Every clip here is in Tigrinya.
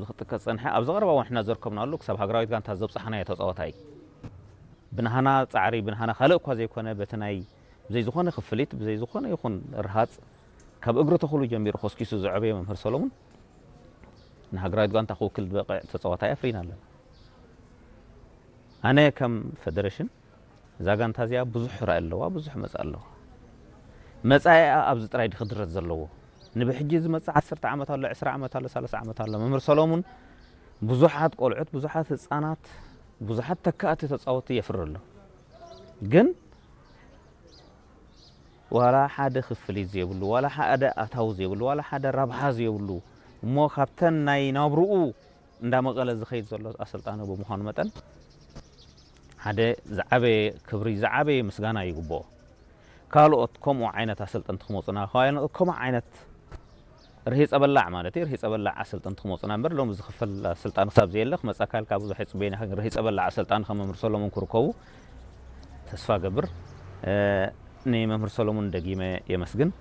ክጥቀስ ጸንሐ። ኣብዚ ቀረባ እውን ንሕና ዘርከብናሉ ክሳብ ሃገራዊት ጋንታ ዘብጽሓናዮ ተጻዋታይ ብናህና ጻዕሪ፣ ብናህና ካልእ እኳ ዘይኮነ፣ በቲ ናይ ብዘይ ዝኾነ ክፍሊት፣ ብዘይ ዝኾነ ይኹን ርሃጽ፣ ካብ እግሪ ተኽሉ ጀሚሩ ኮስኪሱ ዘዕበየ መምህር ሰሎሙን ንሃገራዊት ጋንታ ክውክል ዝበቕዕ ተጻዋታይ ኣፍሪና ኣለና። ኣነ ከም ፈደረሽን እዛ ጋንታ እዚኣ ብዙሕ ራእይ ኣለዋ፣ ብዙሕ መጻኢ ኣለዋ። መጻኢኣ ኣብዚ ጥራይ ድዩ ክድረት ዘለዎ? ንብሕጂ ዝመጽእ ዓሰርተ ዓመት ኣሎ፣ ዕስራ ዓመት ኣሎ፣ ሰላሳ ዓመት ኣሎ። መምህር ሰሎሙን ብዙሓት ቆልዑት፣ ብዙሓት ህጻናት፣ ብዙሓት ተካእቲ ተጻወትቲ የፍሪ ኣሎ። ግን ዋላ ሓደ ክፍሊት ዘይብሉ፣ ዋላ ሓደ ኣታዊ ዘይብሉ፣ ዋላ ሓደ ረብሓ ዘይብሉ፣ እሞ ካብተን ናይ ናብርኡ እንዳ መቐለ ዝኸይድ ዘሎ ኣሰልጣኒ ብምዃኑ መጠን፣ ሓደ ዝዓበየ ክብሪ፣ ዝዓበየ ምስጋና ይግብኦ። ካልኦት ከምኡ ዓይነት ኣሰልጠንቲ ክመጹና፣ ካልኦት ከምኡ ዓይነት ርሂጸ በላዕ ማለት እዩ፣ ርሂጸ በላዕ ኣሰልጠንቲ ክመጹና እምበር፣ ሎሚ ዝኽፈል ኣሰልጣኒ ክሳብ ዘየለ ክመጻካ ኢልካ ብዙሕ የጽበየና። ርሂጸ በላዕ ኣሰልጣኒ ከም መምህር ሰሎሞን ክርከቡ ተስፋ ገብር። እ፣ ንመምህር ሰሎሞን ደጊመ የመስግን።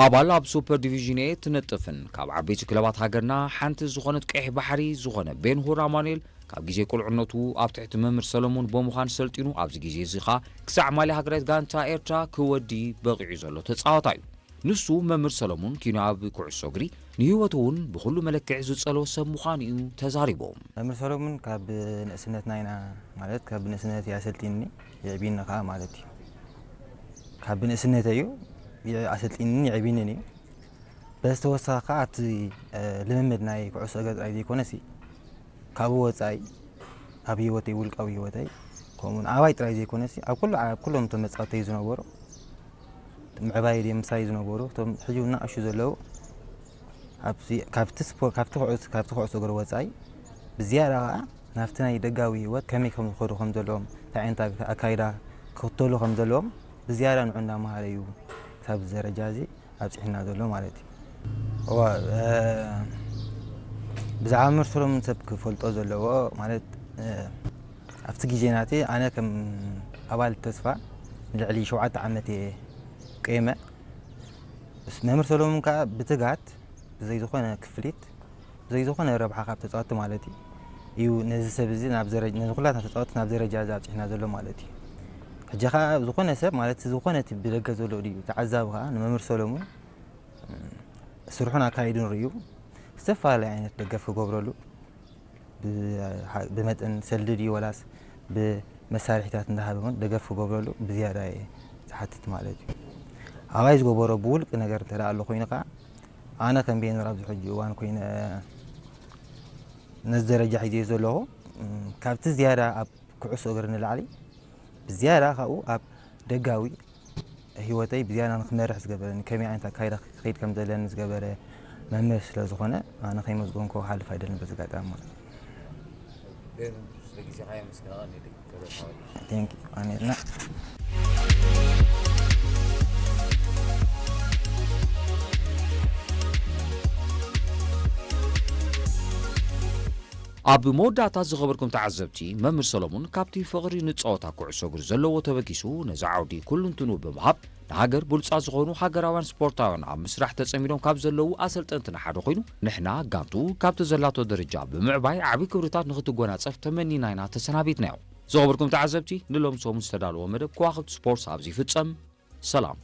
ኣባል ኣብ ሱፐር ዲቪዥን ኤ ትነጥፍን ካብ ዓበይቲ ክለባት ሃገርና ሓንቲ ዝኾነት ቀይሕ ባሕሪ ዝኾነ ቤንሁር ኣማኑኤል፣ ካብ ግዜ ቁልዕነቱ ኣብ ትሕቲ መምህር ሰለሙን ብምዃን ሰልጢኑ፣ ኣብዚ ግዜ እዚ ኸኣ ክሳዕ ማልያ ሃገራዊት ጋንታ ኤርትራ ክወዲ በቒዑ ዘሎ ተጻዋታይ እዩ። ንሱ፣ መምህር ሰለሙን ኪኖ ኣብ ኩዕሶ እግሪ ንህይወቱ እውን ብኹሉ መለክዒ ዝጸልዎ ሰብ ምዃኑ እዩ ተዛሪቡ። መምህር ሰለሙን ካብ ንእስነትና ኢና፣ ማለት ካብ ንእስነት እዩ ኣሰልጢንኒ፣ የዕቢኒ ኸኣ ማለት እዩ። ካብ ንእስነተይ እዩ የ-፣ ኣሰልጢንኒ፣ የዕቢንን እዩ። በዚ ተወሳኺ ኸኣ ኣብቲ፣ እ፣ ልምምድ ናይ ኩዕሶ እግሪ ጥራይ ዘይኮነሲ፣ ካብኡ ወጻኢ ኣብ ህይወተይ፣ ውልቃዊ ህይወተይ፣ ከምኡውን ኣባይ ጥራይ ዘይኮነሲ፣ ኣብ ኩሉ፣ ኣብ ኩሎም እቶም መጻወተይ ዝነበሩ፣ ምዕባይ ድዮም ምሳይ ዝነበሩ፣ እቶም ሕጂ እውን ንኣሽቱ ዘለዉ፣ ኣብዚ፣ ካብቲ ስፖ-፣ ካብቲ ኩዕስ-፣ ካብቲ ኩዕሶ እግሪ ወጻኢ፣ ብዝያዳ ኸኣ ናብቲ ናይ ደጋዊ ህይወት ከመይ ከም ዝኸዱ ከም ዘለዎም፣ እንታይ ዓይነት ኣካይዳ ክኽተሉ ከም ዘለዎም፣ ብዝያዳ ንዑ እንዳመሃረ እዩ ክሳብ እዚ ደረጃ እዚ ኣብጺሕና ዘሎ ማለት እዩ። እዋ፣ እ፣ ብዛዕባ መምህር ሰሎሙን ሰብ ክፈልጦ ዘለዎ ማለት፣ እ፣ ኣብቲ ግዜ ናተይ ኣነ ከም ኣባል ተስፋ ንልዕሊ ሸውዓተ ዓመት እየ ቆይመ። መምህር ሰሎሙን ከኣ ብትግሃት፣ ብዘይ ዝኾነ ክፍሊት፣ ብዘይ ዝኾነ ረብሓ ካብ ተጻወትቲ ማለት እዩ፣ እዩ ነዚ ሰብ እዚ ናብ ዘረ-፣ ነዚ ኩላትና ተጻወትቲ ናብ ደረጃ እዚ ኣብጺሕና ዘሎ ማለት እዩ። ሕጂ ከኣ ዝኾነ ሰብ ማለት ዝኾነ እቲ ብደገ ዘሎ ድዩ ተዓዛቢ ከኣ ንመምህር ሰሎሙን ስርሑን ኣካይዱን ርእዩ፣ ዝተፈላለየ ዓይነት ደገፍ ክገብረሉ፣ ብ-፣ ብመጠን ሰልዲ ድዩ ወላስ ብመሳርሒታት እንዳሃበ እውን ደገፍ ክገብረሉ ብዝያዳ እየ ዝሓትት ማለት እዩ። ኣባይ ዝገበሮ ብውልቂ ነገር እንተ ደኣ ኣሎ ኮይኑ ከኣ፣ ኣነ ከም ቤንሁር ኣብዚ ሕጂ እዋን ኮይነ ነዚ ደረጃ ሒዘዮ ዘለኹ፣ እም፣ ካብቲ ዝያዳ ኣብ ኩዕሶ እግሪ ንላዕሊ፣ ብዝያዳ ካብኡ ኣብ ደጋዊ ህይወተይ ብዝያዳ ንክመርሕ ዝገበረኒ፣ ከመይ ዓይነት ኣካይዳ ክኸይድ ከም ዘለኒ ዝገበረ መምህር ስለ ዝኾነ፣ ኣነ ከይመስገንኩ ክሓልፍ ኣይደልን በዚ ኣጋጣሚ ማለት እዩ። Thank you። ኣነ እና ኣብ መወዳእታ ዝኸበርኩም ተዓዘብቲ፣ መምህር ሰሎሙን ካብቲ ፍቕሪ ንጸወታ ኩዕሶ እግሪ ዘለዎ ተበጊሱ፣ ነዚ ዓውዲ ኩሉ እንትንኡ ብምሃብ፣ ንሃገር ብሉጻት ዝኾኑ ሃገራውያን ስፖርታውያን ኣብ ምስራሕ ተጸሚዶም ካብ ዘለዉ ኣሰልጠንትና ሓደ ኮይኑ፣ ንሕና ጋንቱ ካብቲ ዘላቶ ደረጃ ብምዕባይ ዓቢ ክብርታት ንኽትጎናጸፍ ተመኒና ኢና ተሰናቢትናዮ። ዝኸበርኩም ተዓዘብቲ፣ ንሎም ሰሙን ዝተዳለወ መደብ ከዋኽብቲ ስፖርት ኣብዚ ይፍጸም። ሰላም።